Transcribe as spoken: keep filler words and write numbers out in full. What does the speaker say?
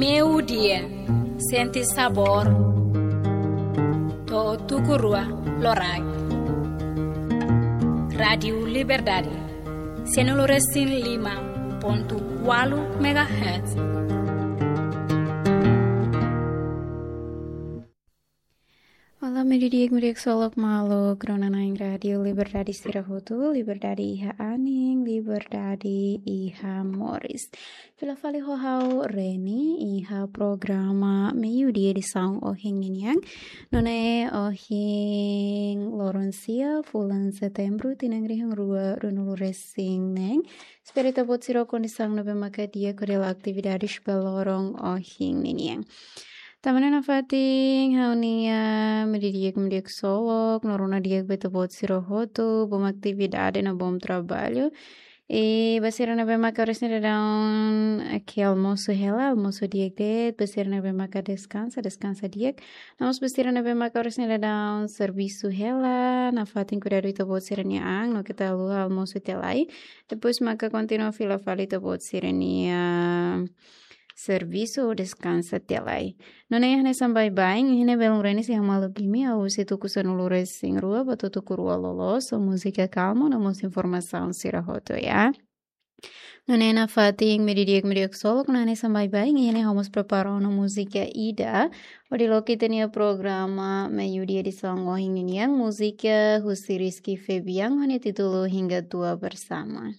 Meiudia, sente sabór. To'o tuku rua loraik. Rádiu Liberdade, sanulu resin lima pontu ualu megahertz. Olá, meiudia di'ak, meiudia ksolok maluk rona-na'in Rádiu Liberdade sira hotu, liberdade iha anin, liberdade iha moris. Fila fali ho ha'u Reni iha programa Meiudia edisaun ohin ninian. Nune'e ohin loron sia, fulan Setembru, tinan rihun rua ruanulu resin neen. Espera ita-boot sira ho kondisaun ne'ebé maka di'ak hodi halo atividade ba loron ohin ninian. Tanba ne'e nafatin ha'u-nia meiudia di'ak, meiudia ksolok, no rona di'ak ba ita-boot sira hotu, bom atividade no bom trabalho. I ba sira ne'ebé maka oras ne'e daudaun, eh, ke almosu hela, almosu di'ak de'it, ba sira ne'ebé maka deskansa, deskansa di'ak. No mós ba sira ne'ebé maka oras ne'e daudaun servisu hela, nafatin kuidadu ita-boot sira-nia an, no keta haluha almosu tiha lai. Depois maka kontinua fila fali ita-boot sira-nia servisu ou deskansa tiha lai. Nune'e hanesan baibain, iha ne'e belun Reni sei hamaluk imi, ha'u husi tuku sanulu resin rua ba to'o tuku rua loloos, ho múzika kalmu no mós informasaun sira hotu, ya. Nune'e nafatin meiudia di'ak, meiudia ksolok, no hanesan baibain, iha ne'e ha'u mós prepara ona múzika ida hodi loke ita-nia programa Meiudia edisaun ohin ninian, múzika husi Rizky Febian, ho nia títulu Hingga Tua Bersama.